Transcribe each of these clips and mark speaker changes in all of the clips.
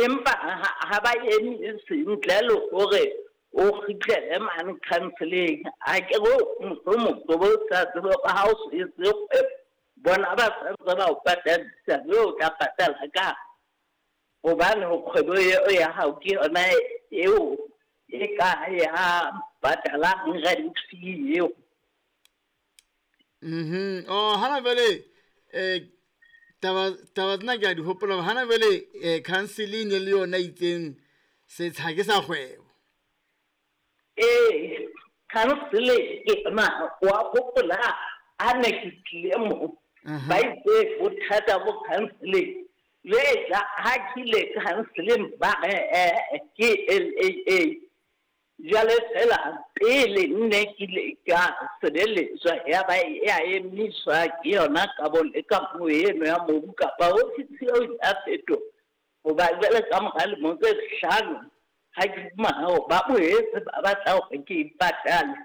Speaker 1: Empa ha ba emise ntle le hore o kgutlele mane counseling. Ha ke re mohlomong o bo sa tsebe hore ha o so etse kgwebo, bona ba santse ba o patadisa, mme o tla patala ka hobane kgwebo eo ya hao ke yona eo e ka ya patalang rent fee eo.
Speaker 2: Oh, hana jwale taba tsena ke a di hopola. Hana jwale counseling le yona itseng setsha ke sa kgwebo.
Speaker 1: Ee, counseling ke yona wa hopola ha ne ke tlile mo. Ba itse bothata bo counseling. Le tla ha ke ile counseling ba re ke LAA. Jwale fela pele nne ke ile ka sebeletswa ya ba ya emiswa ke yona kabo le kamo eno ya mobu kapa ofisi eo ya fetoha. Hoba jwale ka mora lemo tse 5 ha ke fumana hore ba boetse ba batla hore ke ipatale,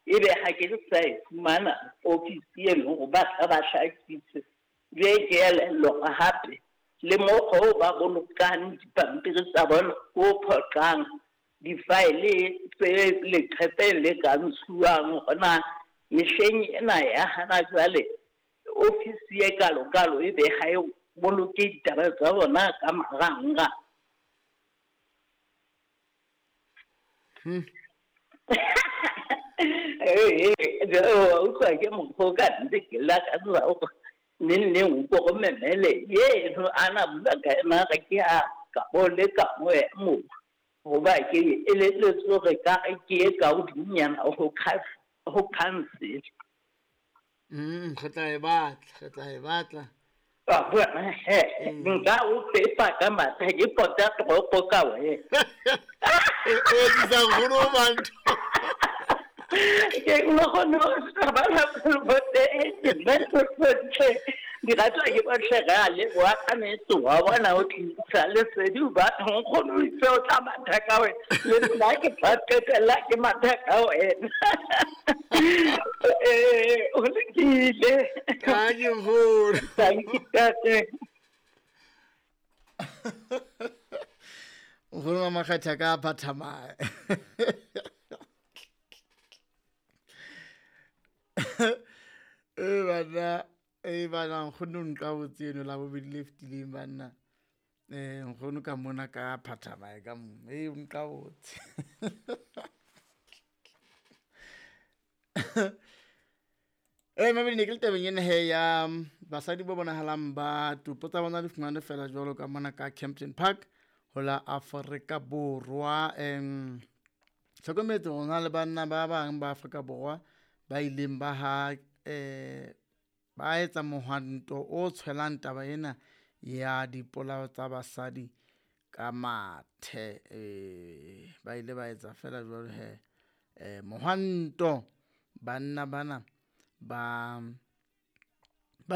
Speaker 1: ebe ha ke sa e fumana ofisi eno hore ba tla ba hlakise. Jwale ke elellwa hape le mokgwa oo ba bolokang dipampiri tsa bona o phoqang di-file tse leqhepeng le ka ntshuwang hona mehleng ena ya hana jwale ofisi e kalokalo ebe ha e boloke ditaba tsa bona ka marangrang. Wa utlwa ke mokgwa o ka nnete ke lakatsa hore neng neng o ko re memele eno a na bua ka ena re ke a kabo le kamo ya mobu. Hoba ke elelletswe hore ka re ke e ka hodimonyana ho council.
Speaker 2: Re tla e batla, re tla e batla.
Speaker 1: Wa bona he, nka o pepa ka matha ke pota toropo ka wena.
Speaker 2: O etsisa nkgono o mantho.
Speaker 1: Ke nkgono ba la bote di ratwa ke bohle re a leboha ka nnete wa bona o tlisa lesedi o batho nkgono o itse o tla matha ka wena le nna ke tla qetella ke matha ka wena. O lokile.
Speaker 2: Ka ke nkgono.
Speaker 1: Thank you, tate.
Speaker 2: Nkgono wa Makgetha ka Phathamae. E banna, e bana nkgono nka botse eno la bobedi le fetileng banna. Nkgono ka mona ka Phathamae ka mo. E nka botse. Mamedi ne ke le tabeng ena he ya basadi ba bonahalang ba topo tsa bona di fumanwe fela jwalo ka mona ka Kempton Park ho la Afrika Borwa. Hlokometse hore na le banna ba bang ba Afrika Borwa ba ileng ba ha ba etsa mohwanto o tshwelang taba ena ya dipolao tsa basadi ka mathe. Ba ile ba etsa fela jwalo he mohwanto banna bana ba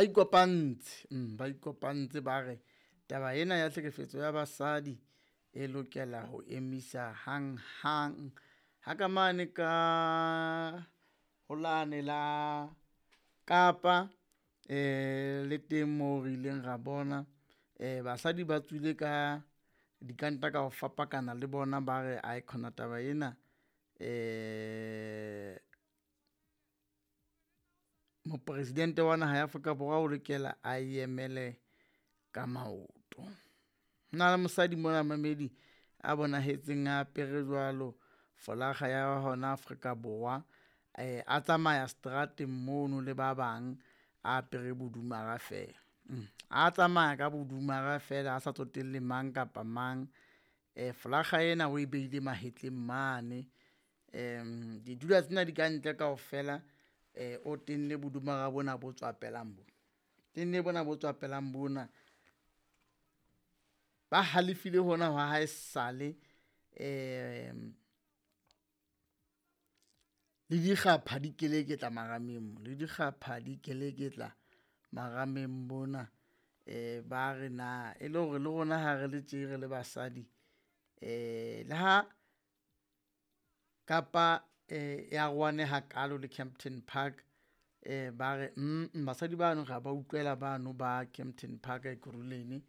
Speaker 2: ikopantse, ba ikopantse ba re taba ena ya tlhekefetso ya basadi e lokela ho emisa hang hang. Ha ka mane ka holane la Kapa le teng moo re ileng ra bona basadi ba tswile ka dikanta ka ho fapakana le bona ba re ae khona taba ena mopresidente wa naha ya Afrika Borwa o lokela a emele ka maoto. Hona le mosadi mona mamedi a bonahetseng a apere jwalo folaga ya hona Afrika Borwa, a tsamaya strateng mono le ba bang a apere bodumara fela. A tsamaya ka bodumara fela a sa tsotelle mang kapa mang. Folaga ena o e beile mahetleng mane. Didula tsena di ka ntle kaofela, o tenne bodumara bona bo tswapelang bona. Tenne bona bo tswapelang bona. Ba halefile hona hwa hae sale le dikgapha di keleketla marameng mo, le dikgapha di keleketla marameng bona. Ba re na e le hore le rona ha re le tje re le basadi le ha kapa ya rwane hakalo le Kempton Park, ba re basadi bano ra ba utlwela bano ba Kempton Park Ekurhuleni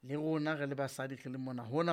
Speaker 2: le rona re le basadi re le mona hona.